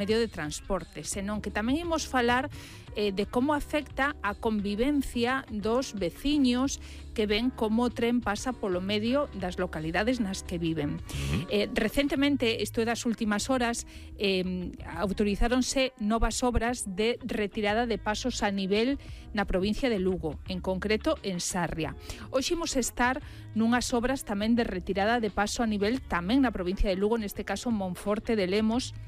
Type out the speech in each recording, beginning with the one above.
medio de transporte, senón que tamén imos falar de como afecta a convivencia dos veciños que ven como o tren pasa polo medio das localidades nas que viven. Recentemente, isto é das últimas horas, autorizáronse novas obras de retirada de pasos a nivel na provincia de Lugo, en concreto en Sarria. Hoxe imos estar nunhas obras tamén de retirada de paso a nivel tamén na provincia de Lugo, neste caso Monforte de Lemos,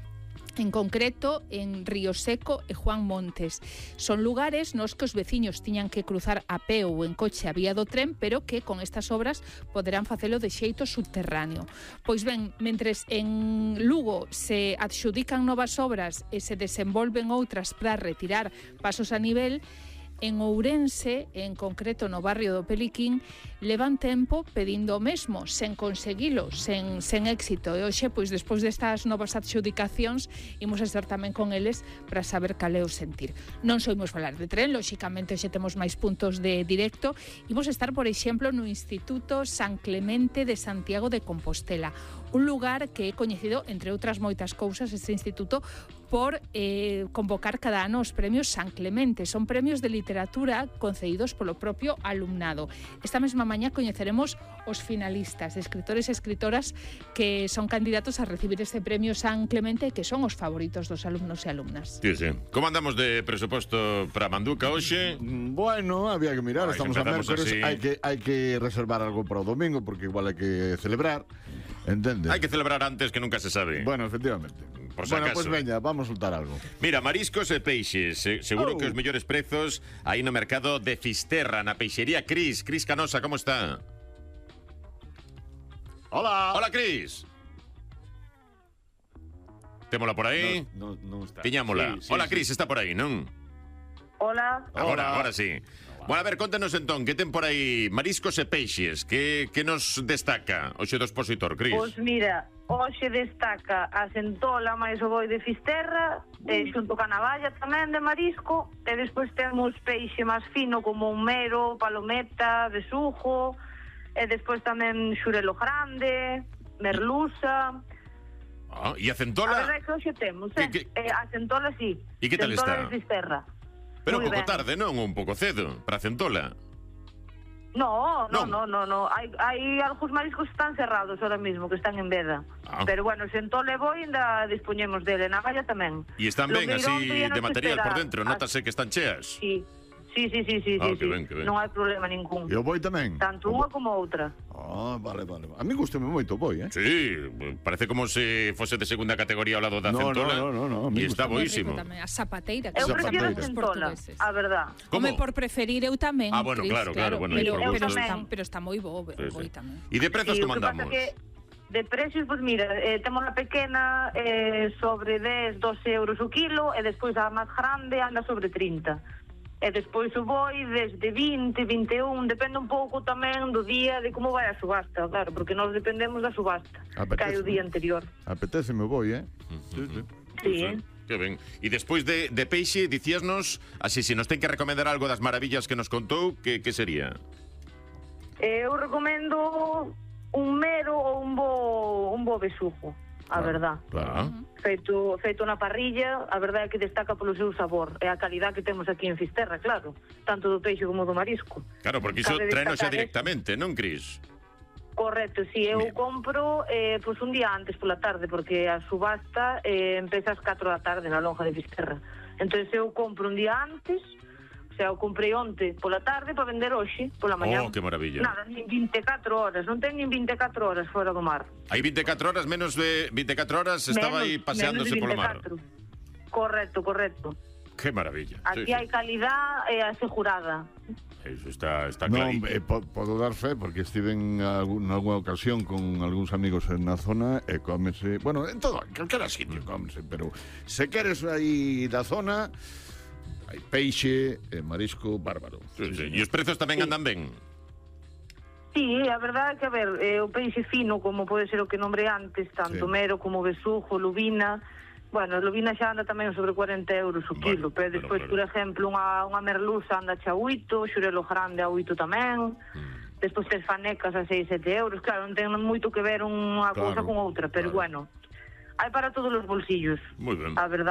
en concreto en Río Seco e Juan Montes. Son lugares nos que os veciños tiñan que cruzar a pé ou en coche a vía do tren, pero que con estas obras poderán facelo de xeito subterráneo. Pois ben, mentres en Lugo se adxudican novas obras e se desenvolven outras para retirar pasos a nivel, en Ourense, en concreto no barrio do Peliquín, levan tempo pedindo o mesmo, sen conseguilo, sen éxito. E hoxe, pois, despois destas novas adxudicacións, imos estar tamén con eles para saber cal é o sentir. Non soimos falar de tren, lóxicamente hoxe temos máis puntos de directo. Imos estar, por exemplo, no Instituto San Clemente de Santiago de Compostela, un lugar que é coñecido, entre outras moitas cousas, este instituto, por convocar cada ano os premios San Clemente. Son premios de literatura concedidos polo propio alumnado. Esta mesma mañá coñeceremos os finalistas, de escritores e escritoras que son candidatos a recibir este premio San Clemente e que son os favoritos dos alumnos e alumnas. Sí, sí. Como andamos de presuposto para Manduca hoxe? Bueno, había que mirar, estamos a mércores, hai que reservar algo para o domingo porque igual hai que celebrar, entendes? Hai que celebrar antes, que nunca se sabe. Bueno, efectivamente. Por si bueno, acaso. Pues veña, vamos a soltar algo. Mira, mariscos e peixes. Seguro que os mellores prezos aí no mercado de Fisterra, na peixería Cris. Cris Canosa, como está? Hola. Hola, Cris. Témola por aí? Non está. Tiñámola. Sí, Hola, Cris, está por aí, non? Hola. Agora sí. Bueno, a ver, contanos entón, que ten por aí mariscos e peixes? Que nos destaca hoxe do expositor, Cris? Pois mira, hoxe destaca a centola máis o boi de Fisterra, xunto ca navalla tamén de marisco, e despois temos peixe máis fino como un mero, palometa, besugo, e despois tamén xurelo grande, merluza. E a centola? A verdade é que hoxe temos, a centola sí. E que tal centola está? de Fisterra. Pero un Muy pouco ben. tarde, non? Un pouco cedo, para a centola. No. Hai algúns mariscos que están cerrados ahora mismo, que están en veda. Pero bueno, centola e boi ainda dispoñemos dele, navalla tamén. E están ben así de material por dentro, notase que están cheas. Sí. Sí. Que ben. Non hai problema ningún. E o boi tamén? Tanto unha como outra. Vale. A mí gustame moito o boi, Sí, parece como se fose de segunda categoría ao lado da centola. No. E está boísimo. A zapateira, que Eu son prefiro a os centola, portugueses. a verdad. Come por preferir eu tamén, bueno, Cris, claro, bueno, pero está moi bo, boi tamén. E de prezos como andamos? De precios, pois mira, temos a pequena sobre 10, 12 euros o kilo, e despois a máis grande anda sobre 30. E despois o boi desde 20, 21, depende un pouco tamén do día de como vai a subasta, claro, porque nós dependemos da subasta, que hai o día anterior. Apetece o boi, Sí. Que ben. E despois de peixe, dicíasnos, así, se nos ten que recomendar algo das maravillas que nos contou, que sería? Eu recomendo un mero ou un bo besugo, a verdad. Claro. Feito na parrilla, a verdade é que destaca polo seu sabor e a calidad que temos aquí en Fisterra, claro, tanto do peixe como do marisco. Claro, porque iso traeno xa directamente, non, Cris? Correcto, si, eu compro pois un día antes pola tarde, porque a subasta empeza ás 4 da tarde na lonja de Fisterra. Entón eu compro un día antes, o sea, eu comprei onte pola tarde para vender hoxe, pola mañá. Que maravilla. Nada, nin 24 horas, non ten nin 24 horas fora do mar. Hai 24 horas, menos de 24 horas estaba aí paseándose polo mar. Correcto. Que maravilla. Aquí hai calidad asegurada. Eso está Non, clarísimo. podo dar fe, porque estive en algunha ocasión con algúns amigos na zona e cómese, bueno, en todo, en calquera sitio cómese, pero se queres aí da zona, hai peixe e marisco bárbaro. Sí. E os prezos tamén andan ben? Sí, a verdade é que, a ver, o peixe fino, como pode ser o que nombrei antes, tanto mero como besugo, lubina, bueno, lubina xa anda tamén sobre 40 euros o kilo, pero despois, por exemplo, unha merluza anda xa 8, xurelo grande a 8 tamén, despois tes fanecas a 6, 7 euros, claro, non ten moito que ver unha cousa con outra, pero bueno, Hai para todos os bolsillos. Moi ben. A verdade.